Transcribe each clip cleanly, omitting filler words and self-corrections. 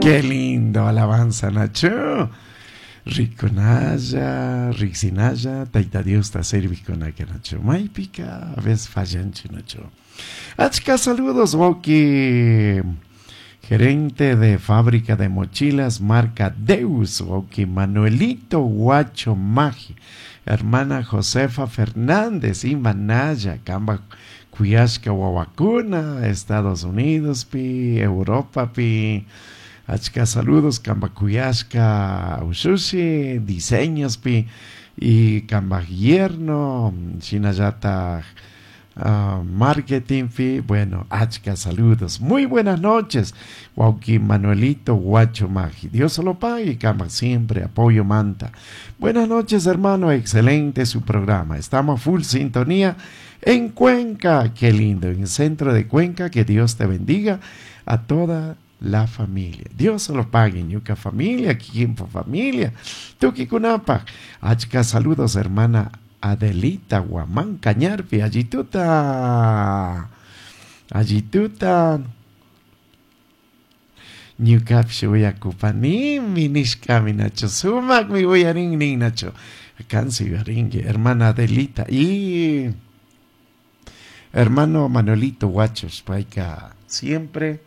Qué lindo alabanza, Nacho. Rikunalla, riksinalla, Tayta Diosta servijkunaka, Nacho. Maypika a veces fallanchik, Nacho. Achka saludos, wawki. Gerente de fábrica de mochilas marca Deus, wawki Manuelito Huacho Magi, hermana Josefa Fernández y Manaya, Kamba kuyashka wawakuna, Estados Unidos pi, Europa pi, achka saludos, Kamba kuyashka ushushi, diseños pi, y Kamba yerno, shinallataj marketing pi, bueno, achka saludos. Muy buenas noches, wawki Manuelito Huacho Magi. Dios se lo pague, Kamba siempre apoyo manta. Buenas noches, hermano, excelente su programa. Estamos full sintonía en Cuenca. Qué lindo, en el centro de Cuenca. Que Dios te bendiga a toda la familia. Dios se lo pague, ñuka familia, kikinpa familia. Tukikunapaj. Achka saludos, hermana Adelita Guamán Cañarpi, allituta. Allituta. Ñukapish uyakupanimi nishkami nacho. Sumakmi uyarin nin nacho. Kansi uyarinki, hermana Adelita. Y hermano Manuelito Huachos, payka siempre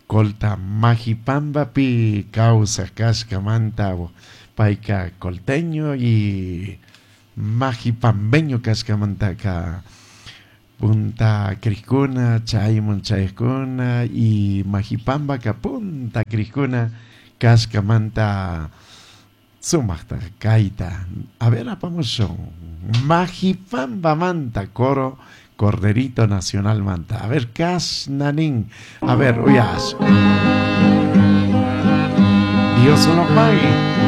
colta Majipambapi kawsaj kashkamanta payka colteño y majipambeño kashkamantaka punta krikuna chaymun chaykuna y Majipambaka punta krikuna kashkamanta sumaqta kayta. A ver, apamushun Majipambamanta coro Corderito Nacional manta. A ver, kashnanin. A ver, uyash. Dios lo pague.